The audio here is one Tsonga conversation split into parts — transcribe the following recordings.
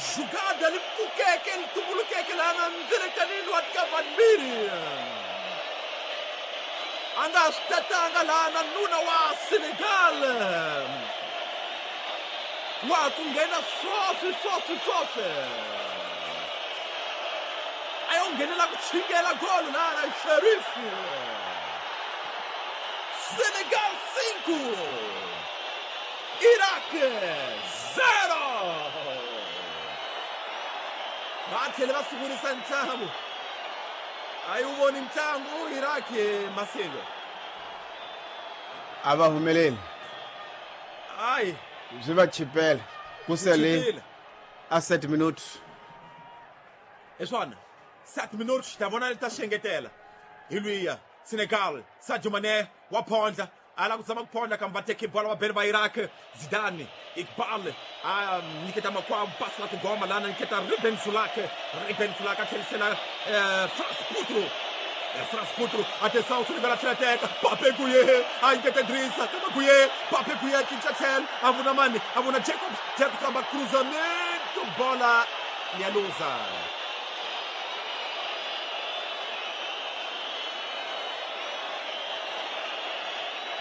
Jugada li pfukeke li tumbulukeke lana ndzelekanini wa Kavanmiri. A nga swi tatanga lana nuna wa Senegal. Wa ku nghena swoswi swoswi swoswi. A yo nghenela ku chingela golo lana Sherif. Senegal 5, Iraq 0. Va tlhele va sungurisa ntlangu. A yi wu voni ntlangu Iraq Masingo. A va humeleli. Hayi. Swi va chipela. Ku sele a 7 minutos. Hi swona. 7 minutos ta vona ta xengetela. Hi luya Senegal, Sadio Mané wa phondla. A lava ku zama ku phondla kambe va teke bola va bele va Iraq. Zidane, Iqbal a nyiketa makwavo pasi la ku goma lana nyiketa Ruben Sulak. Ruben Sulak a tlherisela Frans Putru. Frans Putru, atenção, Senegal a tlhela teka. Pape Gueye, a nyiketa Idrissa, kama Gueye, Pape Gueye a cinca tlhelo, a vona mani, a vona Jacobs, Jacobs amba cruzamento, bola ya luza.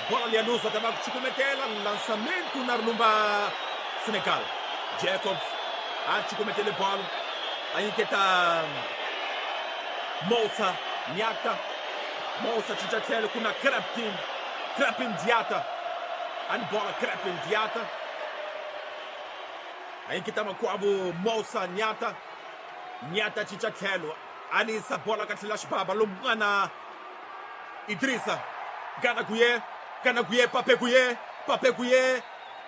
Bola ya luza tava ku cukumetela lançamento na rumba Senegal. Jacobs a cukumetele bola, a nyiketa Moussa Niata. Moussa cinca tlhelo ku na Crepin, Crepin Diata. Ani bola Crepin Diata. A nyiketa makwavo Moussa Niata. Niata cinca tlhelo ani isa bola ka tlhela xibaba lomun'wana Idrissa. Gana Gueye, Gana Gueye, Pape Gueye, Pape Gueye.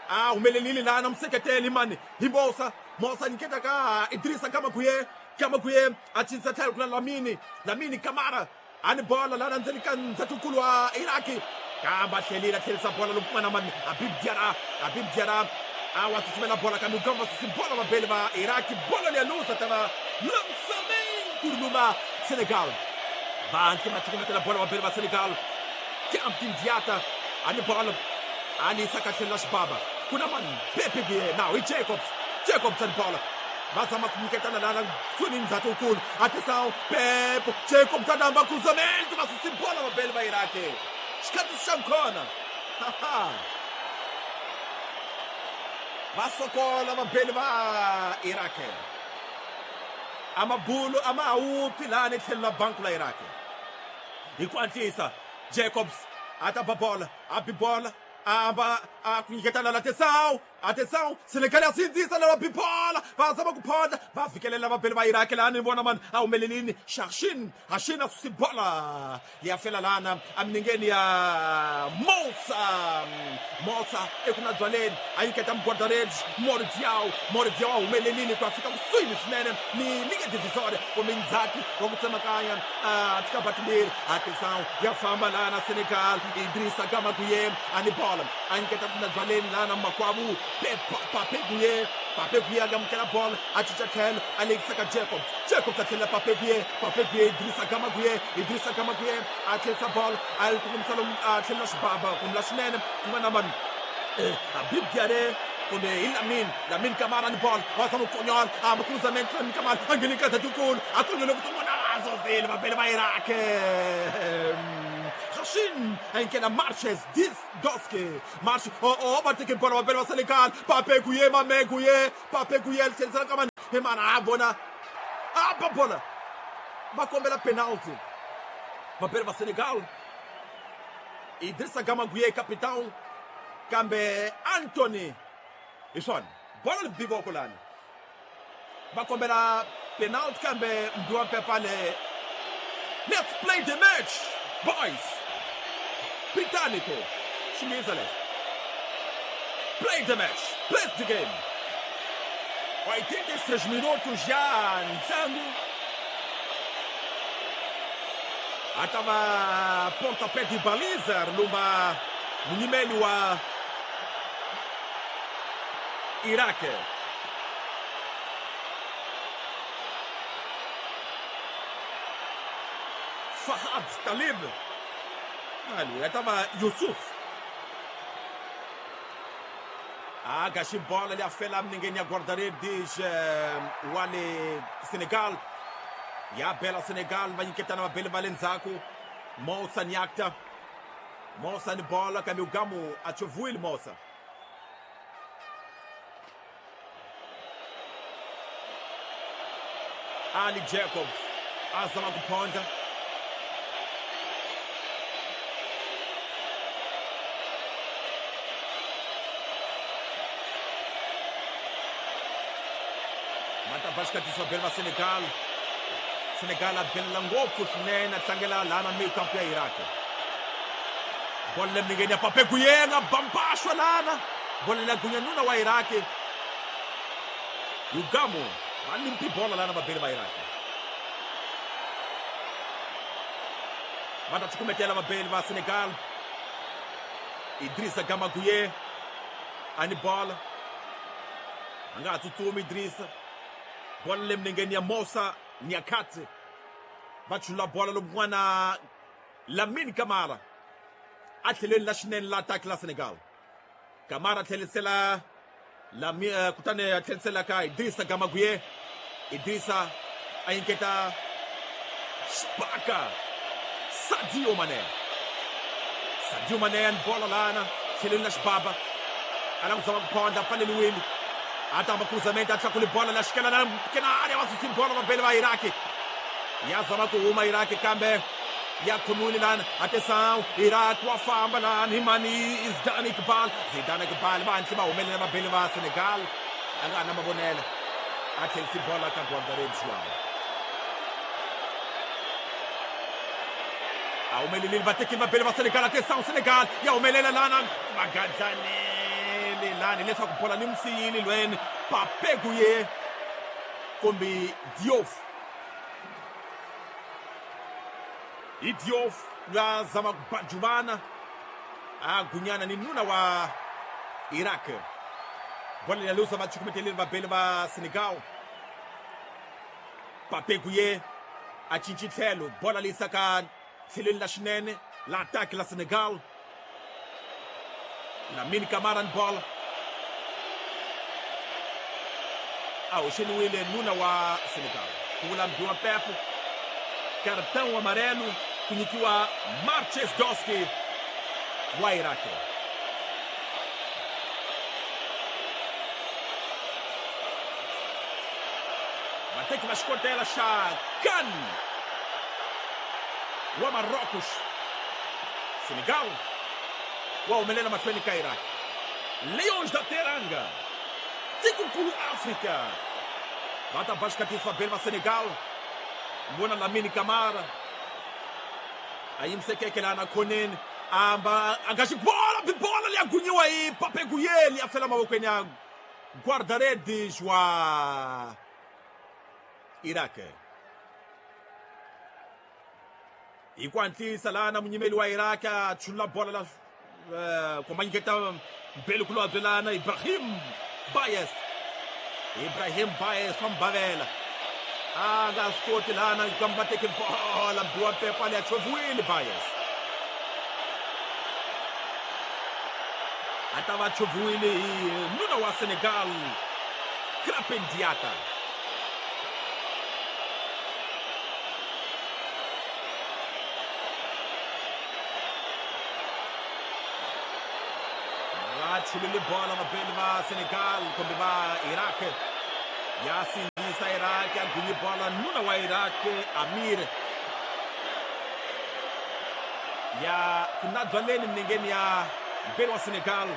A humelelile lana museketeli mani hi Moussa. Moussa nyiketa ka Idrissa Gana Gueye, Gana Gueye a cinca tlhelo ku na Lamine, Lamine Kamara. Ani bola lana ndzeni ka ndzhatukulu wa Iraki. Kambe a tlhelile a tlherisa bola lomun'wana mani Habib Diarra, Habib Diarra a wa tsutsumela bola kambe u susi bola vabeli va Iraki. Bola leya luza tava lançamento luma Senegal. Va anke va cukumetela bola vabeli va Senegal. Campin Diata ani bola ani saka tlhela xibaba ku na mani Pepe Gueye now i Jacobs, Jacobs ani bola va zama ku nyiketana lana suni ndzhatukulu. Atenção, Pepe Jacobs a namba cruzamento va susi bola vabeli va Iraki. Xikhathi xa nkhona. Va sokola vabeli va Iraq. Amabulu a ma ha wupfi lani tlhelo la banku la Iraq. Hi ku antlisa Jacobs a ta ba bola, a bi bola, a ba a ku nyiketana la atenção, atenção, Senegal ya sindzisa lava bi bola, va zama ku phondla, va fikelela vabeli va Iraq lani vona mani a humelelini Shashin, Hashin a susi bola ya fela lana aminingeni ya Moussa, Moussa eku na byaleni a nyiketa mugwadaredzi Mori Diaw, Mori Diaw a humelelini ku ya fika kusuhi swinene ni linge divisória kumbe ndzhati wa ku tsemakanya a tika batimbirhi. Atenção, ya famba lana Senegal, Idrissa Gana Gueye ani bola a nyiketa ku na byaleni lana makwavu Pape Gueye, Pape Gueye a amukela bola a cinca tlhelo a lekisa ka Jacobs, Jacobs a tlhela Pape Gueye, Pape Gueye Idrissa Gana Gueye, Idrissa Gana Gueye a tlherisa bola a yi kongomisa lomu a tlhela xibaba kumbe la xinene ku nga na vanhu Habib Diarra kumbe hi Lamine, Lamine Kamara ni bola wa zama ku konyola a cruzamento Lamine Kamara a ngheni ka ndzhatukulu a konyole ku sungula a zozile vabeli va Iraq. Hashin a Marches Doske March oh va teke bola vabeli va Senegal. Pape Gueye, Mame Gueye, Pape Gueye tlherisela ka mani hi mana a vona a ba bola va kombela penalty vabeli va Senegal. Idrissa Gana Gueye capitão kambe Anthony hi swona bola li bi voko lani va kombela penalty kambe Mdiwa Mpepale. Let's play the match boys. Britânico xinghezi lexo. Play the match, play the game. 86 minutos já ntlangu a ta va pontapé de baliza lumba munyimeli wa Iraq. Fahad Talib ali tava Yusuf. A gaxi bola leyi a fela milengeni ya guarda-redes wa le Senegal. Ya bela Senegal va nyiketana vabeli va le ndzhaku. Moussa Niakta. Moussa ni bola kambe Ugamu a chovile Moussa. Ali Jacobs a zama ku phondla. Mata va beli va Senegal. Senegal a belela ngopfu swinene a tlangela laha na mikampu ya Iraq. Bola le milengeni ya Pape Gueye nga bambaxwa lana. Bola leyi gunya nuna wa Iraq. Ugamu va limpi bola lana vabeli va Iraq. Va ta cukumetela vabeli va Senegal. Idrissa Gana Gueye a ni bola. A nga ha tsutsumi Idrissa. Bola le milengeni ya Moussa Niakate. Va chula bola lowun'wana Lamine Camara. A tlhelweni la xinene la attack la Senegal. Camara a tlhelisela Lami kutani a tlhelisela ka Idrissa Gana Gueye. Idrissa a nyiketa Spaka Sadio Mané. Sadio Mané ni bola lana tlhelweni la xibaba. A lava ku zama ku phondla pfaleliwile. A tamba cruzamento a tlakule bola la xikela na kena área va susi bola vabeli va Iraq. Ya zama ku huma Iraq kambe ya khomiwile lana. Atenção, Iraq wa famba lana hi mani Zidane Iqbal. Zidane Iqbal va hatli va humelela vabeli va Senegal. A nga na mavonelo. A tlhelisi bola ka guarda-redes João. A humelelile va tekile vabeli va Senegal. Atenção, Senegal ya humelela lana va gadlanele lani leswaku bola ni musiyile lweni Pape Gueye kumbe Diouf. I Diouf lwa zama ku bajuvana a gunyana ni nuna wa Iraq. Bola ya lusa va cukumeteleli vabeli va Senegal. Pape Gueye a cinci tlhelo bola leyi saka tlhelweni la xinene la attack la Senegal. Lamine Camara ni bola. A hoxeliwile nuna wa Senegal. Ku vula mbiwa Pepo. Cartão amarelo ku nyikiwa Marches Doski wa Iraq. Vateki va xikotela xa CAN wa Marrocos. Senegal wa humelela mahlweni ka Iraq. Leões da Teranga, tikonkulu África. Va ta ba xikatisa vabeli va Senegal. Vona Lamine Camara a yimisekeke laha na khoneni. Amba a nga xi bola bola leyi a gunyiwa hi Pape Gueye leyi a fela mavokweni ya guarda-redes wa Iraq. Hi ku hatlisa lana munyimeli wa Iraq a chula bola la kumba nyiketa mbeli kulobye lana Ibrahim Bayes. Ibrahim Bayes wa mbavela. A nga swi koti lana kambe va teke bola mbiwa pepa leyi a choviwile Bayes. A ta va choviwile hi nuna wa Senegal Krépin Diatta. Va chulile bola vabeli va Senegal kumbe va Iraq. Ya sindzisa Iraq a gunyi bola nuna wa Iraq Amir. Ya ku na byaleni milengeni ya mbeli wa Senegal.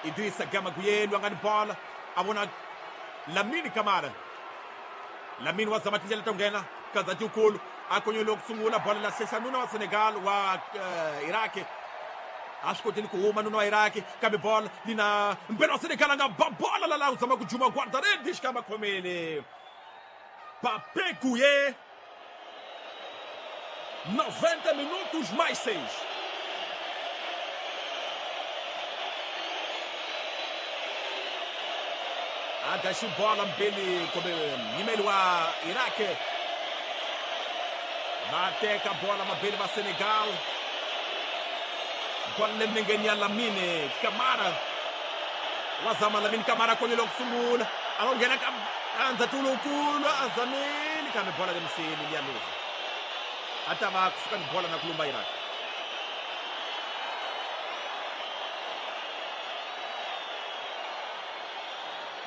Idrissa Gana Gueye lwa nga ni bola a vona Lamine Camara. Lamine wa zama tindlela to nghena Kazati ukulu a konyole ku sungula bola la hlehla nuna wa Senegal wa Iraq. A swi kotile ku huma nuna wa Iraq kambe bola lina mbeli wa Senegal a nga ba bola la la u zama ku juma guarda-redes kambe khomele Pape Gueye. 90 minutos mais 6. A gaxi bola mbeli kumbe nyimeli wa Iraq. Va teka bola mabeli va Senegal. Bola le milengeni ya Lamine Camara. Wa zama Lamine Camara konyelo kusungula. A nghena ka andzatu lowukulu a zamile kambe bola lemiseni liya luza. A ta va kusuka ni bola na ku lumba Iraq.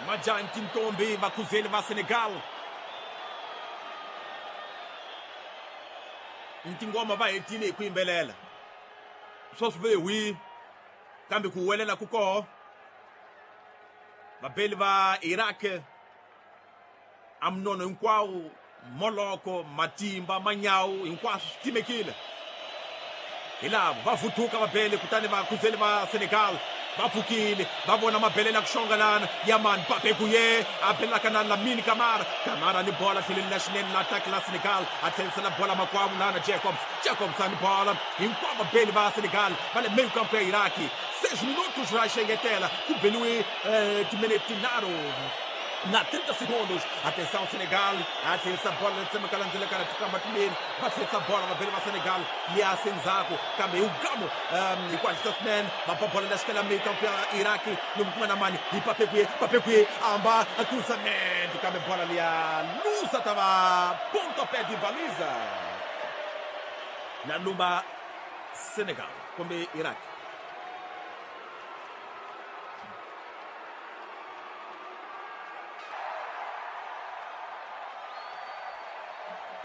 Majanti Ntombi vakhuzeli va Senegal. Ntingoma va hetile hi ku yimbelela. Sweswi ve hwi kambe ku huwelela ku koho. Vabeli va Iraq a mnono hinkwawo, moloko, matimba, manyawu hinkwaswo swi timekile. Hi lava va vuthuka vabeli kutani vakhuzeli va Senegal va pfukile va vona mabelele ya ku xonga lana ya mani Pape Gueye a belaka na Lamine Camara. Camara ni bola tlheleni la xinene la attack la Senegal a tlherisela bola makwavo lana Jacobs. Jacobs a ni bola hinkwavo vabeli va Senegal va le meio campo ya Iraki. 6 minutos va xengetela ku beliwe timinete tinharhu na 30 segundos. Atenção Senegal, a tlherisa bola letsemeka landzelekana tikamba timbirhi va tlherisa bola vabeli va Senegal liya sendzhaku kambe hi ugamo hi ku hatlisa swinene va ba bola la xikela meio campo ya Iraki lomu ku nga na mani hi Pape Gueye. Pape Gueye a hamba a cruzamento kambe bola liya luza ta va pontapé de baliza na lumba Senegal kumbe Iraq.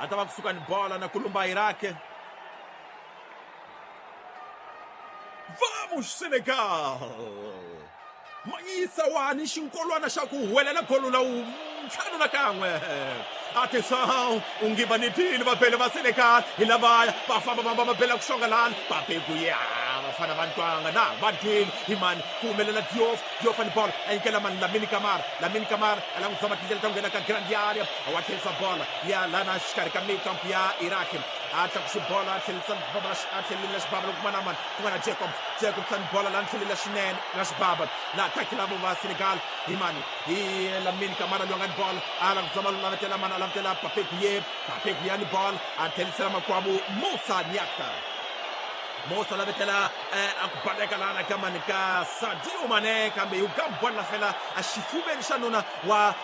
A ta va kusuka ni bola na kulumba Iraq. Vamos Senegal! Manyisa wani xinkolwana xa ku huwelela golo la ntlhanu na kan'we. Atenção, ungivanitile vabeli va Senegal hi lavaya va famba va mabela ku xonga lana Pape Gueye vafana va ntwanga na va twini hi mani ku humelela Diouf. Diouf ni bola a nyikela mani Lamine Camara. Lamine Camara a lava ku zama tindlela ta ku nghena ka grand area wa tlherisa bola ya lana xikarhi ka meio campo ya Iraq. A tlakusi bola a tlherisa a tlhelela xibaba loko ku nga na mani ku nga na Jacobs. Jacobs ni bola lana tlhelela xinene na xibaba la attack lavo va Senegal hi mani hi Lamine Camara loyi a nga ni bola a lava ku zama lavetela mani a lavetela Pape Gueye. Pape Gueye ni bola a tlherisela makwavo Moussa Niakha. Moussa lavetela a ku baleka lana ka mani ka Sadio Mane kambe hi ka bola fela a xifuveni xa nuna wa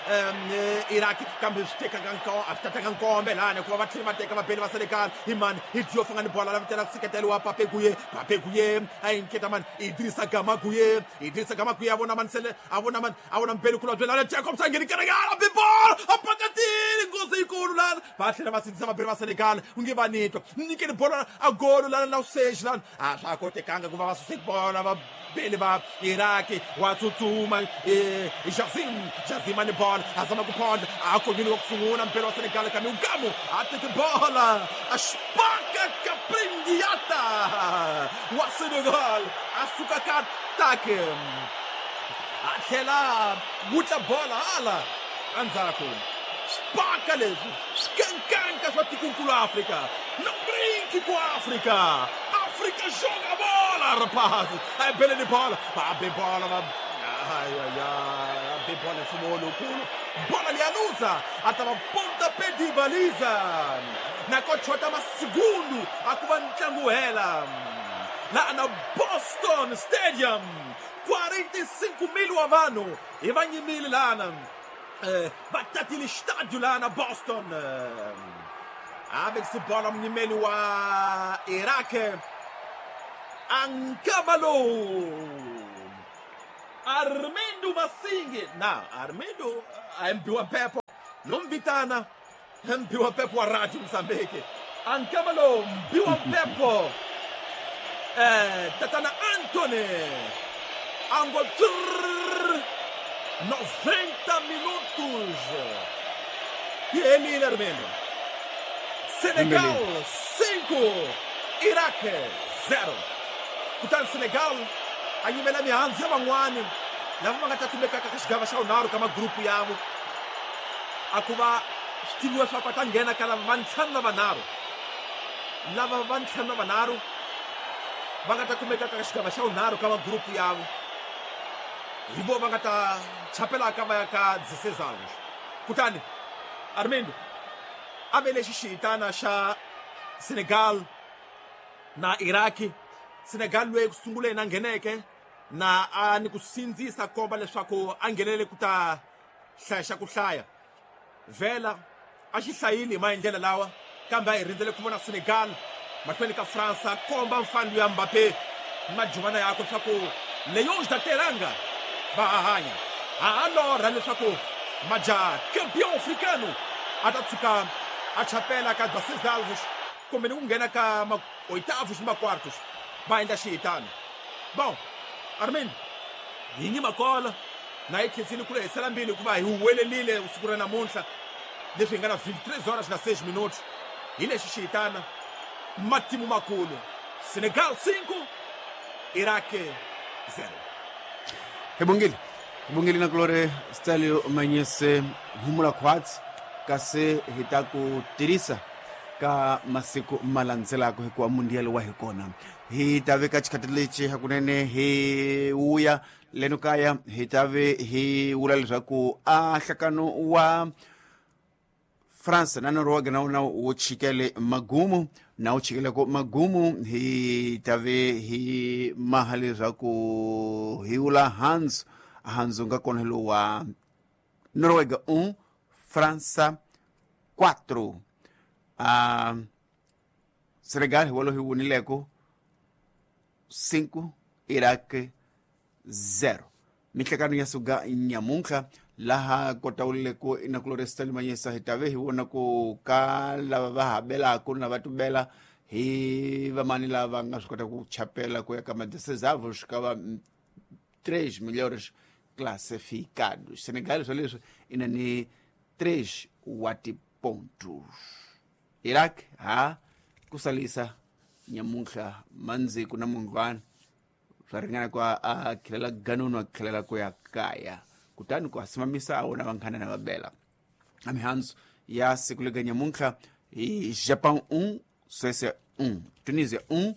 Iraq kambe swi teka a swi tataka nkombe lana hikuva va tlhela va teka vabeli va Senegal hi mani hi Diouf nga ni bola lavetela ku seketeliwa Pape Gueye. Pape Gueye a yi nketa mani Idrissa Gana Gueye. Idrissa Gana Gueye a vona mani sele a vona mani a vona mbeli kulobye lana Jacobs a ngheni kereke a bi bola a pakatile nghozi yikulu lana va tlhela va sindzisa vabeli va Senegal u nge va nitwa nyikeni bola a golo lana na useji lana a swa kotekanga ku va va suse bola vabeli va Iraki wa tsutsuma Jazim. Jazim ni bola a zama ku phonda a konyini wa ku sungula mbeli wa Senegal kambe ugamu a teke bola a xipaka kapringiata wa Senegal a suka ka atake a tlhela wutla bola hala endzhaku. Xipaka leswi swikankanka swa tikonkulu Afrika. Não brinque com a África. África joga a bola, rapaz. Aí bele de bola. Va bem bola, va. Ai, ai, ai. Bem bola, fumou no culo. Bola ali anusa. Atava pontapé de baliza. Na cochota, mas segundo. A Cuba ntlangu hela. Lá na Boston Stadium. 45 mil wa vanhu. Hi va nyimile lana. Va tatile estádio lá na Boston. A vekise bola munyimeli wa Iraq Ankamalo Armindo Masingi na Armindo ambiwa pepo nomvitana mbiwa pepo wa Radio Mozambique. Ankamalo mbiwa pepo tatana Anthony ango 90 minutos e ele Armindo. Senegal 5, Iraq 0. Kutani Senegal a nyimela mihandzu ya van'wani lava va nga ta kumekaka ka xigava xa vunharhu ka magrupu yavo a ku va swi tiviwa swa ku a ta nghena ka lava va ntlhanu na vanharhu lava va ntlhanu na vanharhu va nga ta kumekaka ka xigava xa vunharhu ka magrupu yavo hi vo va nga ta chapelaka va ya ka 16 anos. Kutani Armindo a ve lexi xihitana xa Senegal na Iraki. Senegal loyi ku sunguleni a ngheneke Na a ni ku sindzisa komba leswaku a nghenelele ku ta hlaya xa ku hlaya. Vhela a xi hlayile hi maendlelo lawa, kambe a hi rindzele ku vona Senegal mahlweni ka Fransa komba mfano ya Mbappé majuvana yakwe swa ku Leões da Teranga va ha hanya. Ha ha lorha leswaku majaha campeão africano a ta tshuka a chapela ka 16 alvos kumbe ni ku nghena ka oitavos ni ma-quartos va endla xihitano. Bom, Armin, hi nyima kola na yi khensile ku lehisela mbilu hikuva hi huwelelile siku ra namuntlha leswi hi nga na 23 horas na 6 minutos hi lexi xihitana matimu makulu Senegal 5, Iraq 0. Hi bongile na kulore Stalio Manyese humula khwatsi kasi hi ta ku tirhisa ka masiku ma landzelaka hikuva mundial wa hi kona. Hi ta veka xikhathi lexi hakunene hi wuya leno kaya, hi ta ve hi vula leswaku a nhlakano wa France na Norway na wona wu chikele magumu, na wu chikeleko magumu. Hi ta ve hi maha leswaku hi vula Hans Hans nga kona hi lowu wa Noruega 1, França 4. Senegal hi wolo hi wunileko 5, Iraq 0. Mihlekano ya suka nyamuntlha laha kotawuleko inakulore Stanley Manyesa, hi tave hi vona ku ka lava va habelaka na va tubela hi vamani lava nga swi kota ku chapela ku ya ka ma-16 swi va 3 melhores classificados. Senegal swa leswi i na ni 3 wa tipontos. Iraq ha kusalisa nyamuntlha mandziku na mundlwana swa ringana ku a khilela ganunu a khilela ku ya kaya, kutani ku asimamisa a wona vanghana na vabela. A mihandzu ya siku lega nyamuntlha hi Japão 1, Suécia 1, Tunisia 1,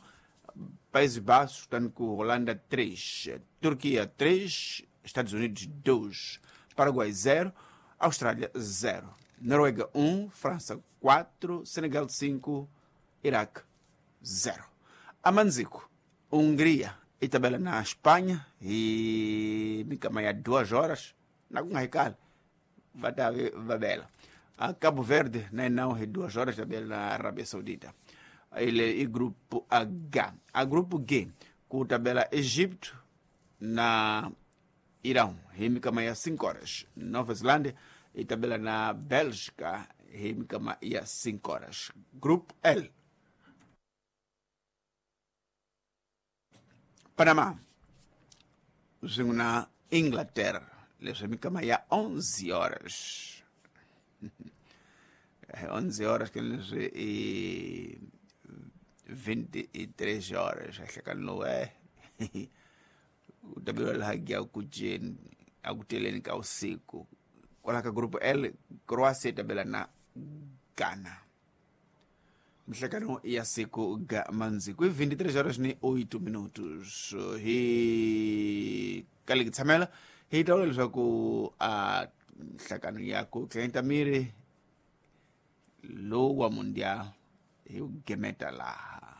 Países Baixos, kutani ku Holanda 3, Turquia 3, Estados Unidos 2, Paraguai 0, Austrália 0, Noruega 1, França 4, Senegal 5, Iraque 0. Amanzico, Hungria e tabela na Espanha e mikama ya 2 horas na ku nga hi kali va ta ve va bela. A Cabo Verde na não hi 2 horas tabela na Arábia Saudita. Ele e grupo H. A grupo G ku tabela Egito na Irão hi mikama ya 5 horas. Nova Zelândia e tabela na Bélgica hi mikama ya 5 horas. Grupo L. Panamá swin'we na Inglaterra leswi mikama ya 11 horas. 11 horas ke leswi i 23 horas hlekani lowu u tabeliwa laha ya ku jeni a ku teleni ka usiku. Kwala ka grupo L, Croatia tabela na Ghana. Mihlekano ya siku ga mandziku i 23 horas ni 8 minutos. Hi kaliki tshamela hi ta vula leswaku a nhlakano ya ku tlenta miri lowu wa mundial hi wu gemeta laha.